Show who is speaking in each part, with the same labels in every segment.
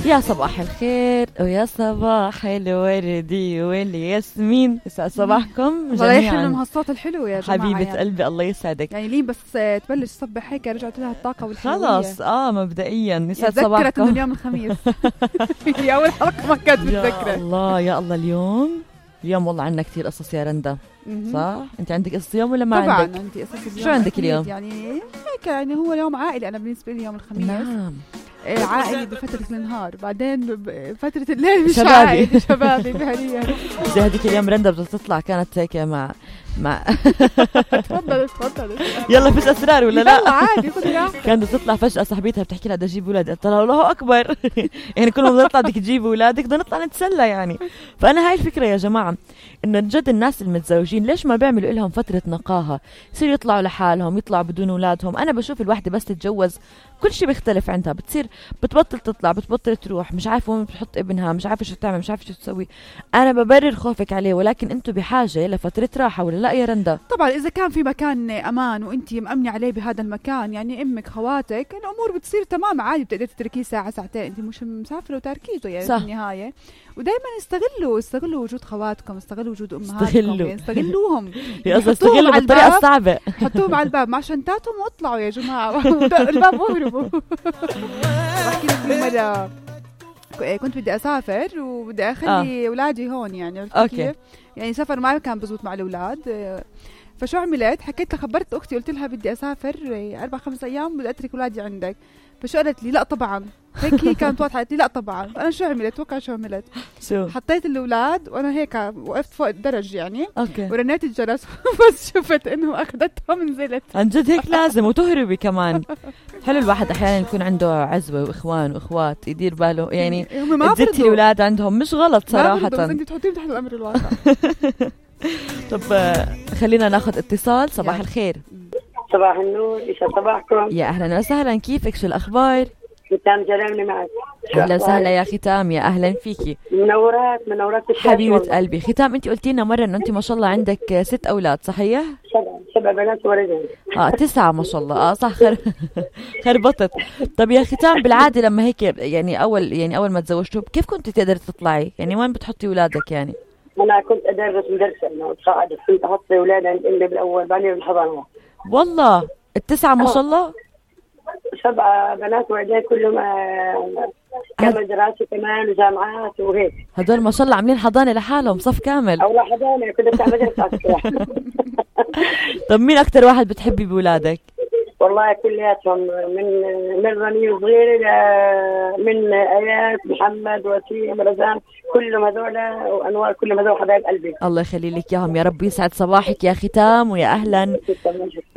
Speaker 1: يا صباح الخير ويا صباح الوردي والياسمين، يسعد صباحكم
Speaker 2: جميعا. الله الصوت الحلو يا جماعة
Speaker 1: حبيبة يعني. قلبي الله يسعدك.
Speaker 2: يعني لين بس تبلش صبح هيك رجعت لها الطاقة والحلوية
Speaker 1: خلاص. مبدئيا يسعد
Speaker 2: صباحكم.
Speaker 1: صباحكم.
Speaker 2: إنه اليوم الخميس هي أول حلقة ما كانت متذكرة.
Speaker 1: يا الله يا الله. اليوم والله عنا كتير قصص يا رندا. صح؟ انت عندك قصص اليوم ولا ما
Speaker 2: طبعاً
Speaker 1: عندك؟
Speaker 2: طبعا عندي قصص اليوم.
Speaker 1: شو عندك اليوم؟
Speaker 2: يعني هيك يعني هو يوم عائلي انا بالنسبه لي يوم الخميس.
Speaker 1: نعم.
Speaker 2: عائلي بفترة النهار، بعدين بفترة الليل مش
Speaker 1: شبابي.
Speaker 2: عائلي شبابي فعليا.
Speaker 1: زي هذيك اليوم رندا بدها تطلع كانت هيك مع
Speaker 2: تفضل
Speaker 1: يلا فيش اسرار ولا لا؟
Speaker 2: يلا عادي خذي راحتك.
Speaker 1: كانت تطلع فجأة صاحبتها بتحكي لها بدي اجيب اولاد، قلت لها الله اكبر يعني كل ما بدنا نطلع بدك تجيبي اولادك، بدنا نطلع نتسلى يعني. فانا هاي الفكرة يا جماعة، انه جد الناس المتزوجين ليش ما بيعملوا لهم فترة نقاهة، يصيروا يطلعوا لحالهم، يطلعوا بدون اولادهم. انا بشوف الوحدة بس تتجوز كل شيء بيختلف عندها، بتصير بتبطل تطلع، بتبطل تروح، مش عارفه وين بتحط ابنها، مش عارفه شو تعمل، مش عارفه شو تسوي. انا ببرر خوفك عليه، ولكن انتم بحاجه لفتره راحه ولا لا يا رندا؟
Speaker 2: طبعا اذا كان في مكان امان وانت مأمنه عليه بهذا المكان، يعني امك خواتك، الامور بتصير تمام عادي، بتقدر تتركيه ساعه ساعتين، انت مش مسافره وتاركيته يعني في النهايه. ودائما استغلوا وجود خواتكم، استغلوا وجود امهاتكم، يعني استغلوهم.
Speaker 1: استغلوا بالطريقه الصعبه،
Speaker 2: حطوهم على الباب مع شنطاتهم واطلعوا يا جماعه الباب واهربوا. بحكي لك مرة كنت بدي اسافر وبدي اخلي اولادي هون، يعني
Speaker 1: اوكي
Speaker 2: يعني سفر ما كان بزبط مع الاولاد. فشو عملت؟ حكيت لها، خبرت اختي قلت لها بدي اسافر 4-5 ايام بدي اترك اولادي عندك. فشو قالت لي؟ لا طبعا. هيك هي كانت واضحه، قالت لي لا طبعا. انا شو عملت؟ توقع شو عملت؟
Speaker 1: شو
Speaker 2: حطيت الاولاد وانا هيك وقفت فوق الدرج يعني،
Speaker 1: اوكي،
Speaker 2: ورنيت الجرس بس شفت انه اخذتهم نزلت.
Speaker 1: عن جد هيك لازم، وتهربي كمان. حلو الواحد احيانا يكون عنده عزوه واخوان واخوات يدير باله، يعني تزتي الاولاد عندهم مش غلط صراحه،
Speaker 2: بس انت تحطيهم تحت الامر الواقع.
Speaker 1: طب خلينا ناخذ اتصال. صباح الخير.
Speaker 3: صباح النور، يسعد صباحكم.
Speaker 1: يا اهلا وسهلا، كيفك؟ شو الاخبار؟
Speaker 3: ختام جلالي معك.
Speaker 1: اهلا وسهلا يا ختام، يا اهلا فيكي.
Speaker 3: منورات
Speaker 1: حبيبه قلبي. ختام انت قلتي لنا مره انه انت ما شاء الله عندك 6 اولاد، صحيح؟
Speaker 3: 7 بنات وولدين.
Speaker 1: 9 ما شاء الله. صح. خربطت. طب يا ختام، بالعاده لما هيك يعني اول ما تزوجتوا كيف كنت تقدري تطلعي؟ يعني وين بتحطي اولادك يعني؟
Speaker 3: انا كنت ادرس مدرسه انه تصاعدت، كنت احط اولاد عند امي بالاول، بعدين بالحضانه.
Speaker 1: والله 9 ما شاء الله.
Speaker 3: 7 بنات وولدين كلهم كمان دراسه كمان وجامعات وهيك.
Speaker 1: هدول ما شاء الله عاملين حضانه لحالهم، صف كامل.
Speaker 3: او حضانه كنت بتاع مدرسه.
Speaker 1: طب مين اكثر واحد بتحبي بولادك؟
Speaker 3: والله كلياتهم، من رني صغير من ايات محمد وسيم رزان، كلهم هذول وانوار، كلهم هذول حبايب قلبي.
Speaker 1: الله يخلي لك اياهم يا رب. يسعد صباحك يا ختام، ويا اهلا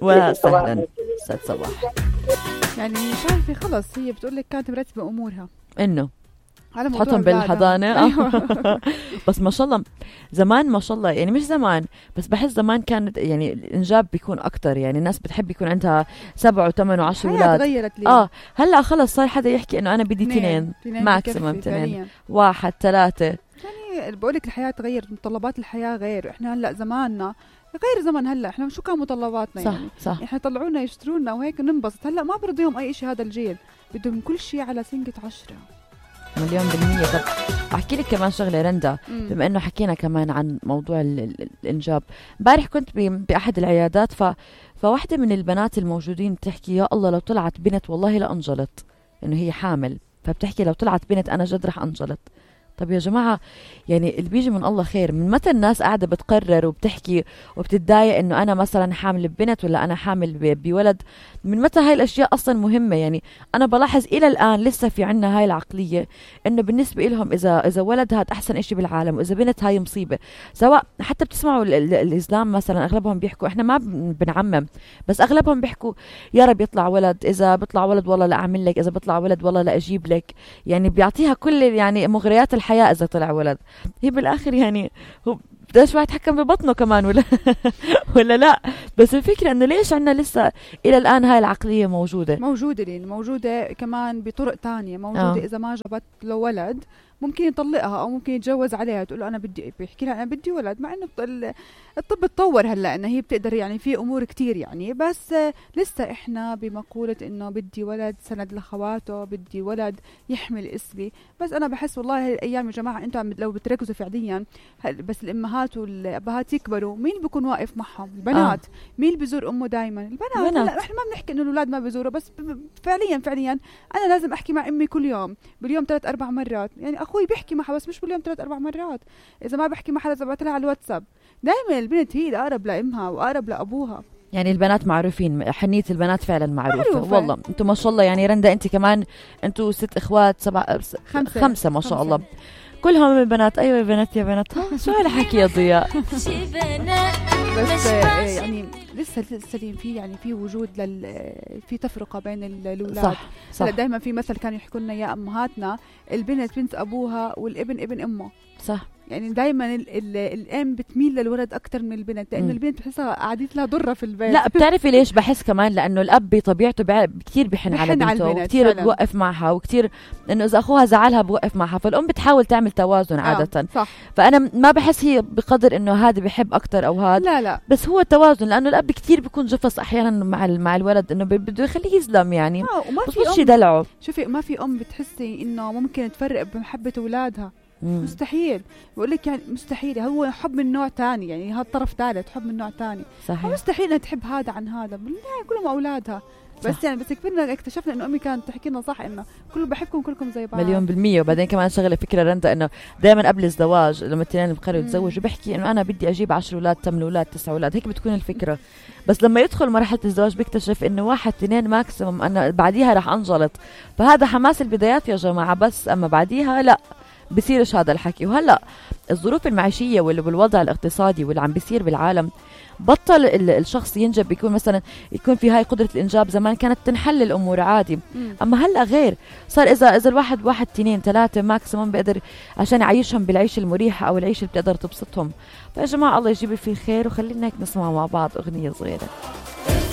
Speaker 1: وسهلا. يسعد صباح.
Speaker 2: يعني شايفه خلص هي بتقول لك كانت مرتبه امورها
Speaker 1: انه تحطهم بالحضانه.
Speaker 2: أيوة.
Speaker 1: بس ما شاء الله زمان ما شاء الله، يعني مش زمان بس بحس زمان كانت يعني الانجاب بيكون اكتر، يعني الناس بتحب يكون عندها 7 و8 و10 اولاد.
Speaker 2: تغيرت ليه؟
Speaker 1: هلا خلص صار حدا يحكي انه انا بدي 2 ماكسيمم 2 1 3.
Speaker 2: يعني بقول لك الحياه تغيرت، متطلبات الحياه غير. احنا هلا زماننا غير زمان هلا، احنا شو كان متطلباتنا؟
Speaker 1: صح
Speaker 2: يعني
Speaker 1: صح.
Speaker 2: احنا طلعونا يشترونا وهيك ننبسط. هلا ما برضيهم اي شيء، هذا الجيل بدهم كل شيء على سنجة 10
Speaker 1: مليون بالمية. طب أحكي لك كمان شغلة رندا، بما أنه حكينا كمان عن موضوع الإنجاب. امبارح كنت بأحد العيادات، فواحدة من البنات الموجودين تحكي يا الله لو طلعت بنت والله لأنجلت، إنه هي حامل، فبتحكي لو طلعت بنت أنا جد رح أنجلت. طب يا جماعة، يعني اللي بيجي من الله خير. من متى الناس قاعدة بتقرر وبتحكي وبتتضايق انه انا مثلا حامل ببنت ولا انا حامل بولد؟ من متى هاي الاشياء اصلا مهمة؟ يعني انا بلاحظ الى الان لسه في عنا هاي العقلية انه بالنسبة لهم اذا ولد هاد احسن اشي بالعالم، واذا بنت هاي مصيبة. سواء حتى بتسمعوا الاسلام مثلا اغلبهم بيحكوا، احنا ما بنعمم بس اغلبهم بيحكوا يا رب يطلع ولد، اذا بيطلع ولد والله لا اعمل لك، اذا بيطلع ولد والله لا اجيب لك. يعني بيعطيها كل يعني مغريات الحياة إذا طلع ولد. هي بالآخر يعني هو بداش واحد يتحكم ببطنه كمان ولا لا. بس الفكرة إنه ليش عنا لسه إلى الآن هاي العقلية موجودة؟
Speaker 2: لين موجودة كمان بطرق تانية موجودة. إذا ما جابت له ولد ممكن يطلقها او ممكن يتجوز عليها، تقول له انا بدي، بيحكي لها انا بدي ولد، مع انه الطب تطور هلا انه هي بتقدر يعني في امور كتير يعني، بس لسه احنا بمقولة انه بدي ولد سند لخواته، بدي ولد يحمل اسمي. بس انا بحس والله هالايام يا جماعه انتم لو بتركزوا فعليا، بس الامهات والابهات يكبروا، مين بيكون واقف معهم؟ البنات. مين اللي بيزور امه دائما؟ البنات. لا احنا ما بنحكي انه الاولاد ما بيزوروا، بس فعليا انا لازم احكي مع امي كل يوم، باليوم 3-4 مرات. يعني اخوي بيحكي معها بس مش باليوم 3-4 مرات. اذا ما بحكي معها لازم ابعث لها على الواتساب. دائما البنت هي الاقرب لامها واقرب لابوها.
Speaker 1: يعني البنات معروفين، حنية البنات فعلا معروفة. والله انتم ما شاء الله. يعني رندا انت كمان، انتم 6 اخوات 7 5 ما شاء الله، كلهم البنات. ايوه يا بنات يا بنات. شو هالحكي يا ضياء؟
Speaker 2: بس يعني لسه في يعني في وجود في تفرقه بين الاولاد. صح. دائما في مثل كانوا يحكوا لنا يا امهاتنا، البنت بنت ابوها والابن ابن امه. صح. يعني دايما الام بتميل للولد اكثر من البنت، لانه البنت بحسها قعدت لها ضره في البيت.
Speaker 1: لا بتعرفي ليش بحس كمان؟ لانه الاب بطبيعته كثير بحن على بنته، وكثير بوقف معها، وكثير انه اذا اخوها زعلها بوقف معها، فالام بتحاول تعمل توازن عاده.
Speaker 2: صح.
Speaker 1: فانا ما بحس هي بقدر انه هذا بحب اكثر او هذا.
Speaker 2: لا
Speaker 1: بس هو التوازن، لانه الاب كثير بيكون جفص احيانا مع الولد، انه بده يخليه يظلم يعني.
Speaker 2: وما
Speaker 1: في شيء دلعه.
Speaker 2: شوفي ما في ام بتحسي انه ممكن تفرق بمحبه اولادها. مستحيل. بقول لك يعني مستحيل. هو حب من نوع تاني، يعني هذا طرف ثالث، حب من نوع تاني.
Speaker 1: صحيح.
Speaker 2: مستحيل انها تحب هذا عن هذا، بالنهايه كلهم اولادها. بس صح. يعني بس كبرنا اكتشفنا انه امي كانت تحكي لنا صح، انه كله بحبكم كلكم زي بعض 100%.
Speaker 1: وبعدين كمان شغله فكره رندا، انه دائما قبل الزواج لما الاثنين بقرروا يتزوجوا بيحكي انه انا بدي اجيب 10 اولاد 8 اولاد 9 اولاد، هيك بتكون الفكره. بس لما يدخل مرحله الزواج بيكتشف انه 1 2 ماكسيموم، انا بعديها راح انجلط. فهذا حماس البدايات يا جماعه، بس اما بعديها لا بصيرش هذا الحكي. وهلا الظروف المعيشيه والوضع الاقتصادي واللي عم بيصير بالعالم، بطل الشخص ينجب، بيكون مثلا يكون في هاي قدرة الإنجاب. زمان كانت تنحل الأمور عادي، أما هلأ غير. صار إذا الواحد 1 2 3 ماكسيموم بيقدر عشان يعيشهم بالعيش المريحة أو العيش اللي بتقدر تبسطهم. فيا جماعة الله يجيب في الخير، وخلينا هيك نسمع مع بعض أغنية صغيرة.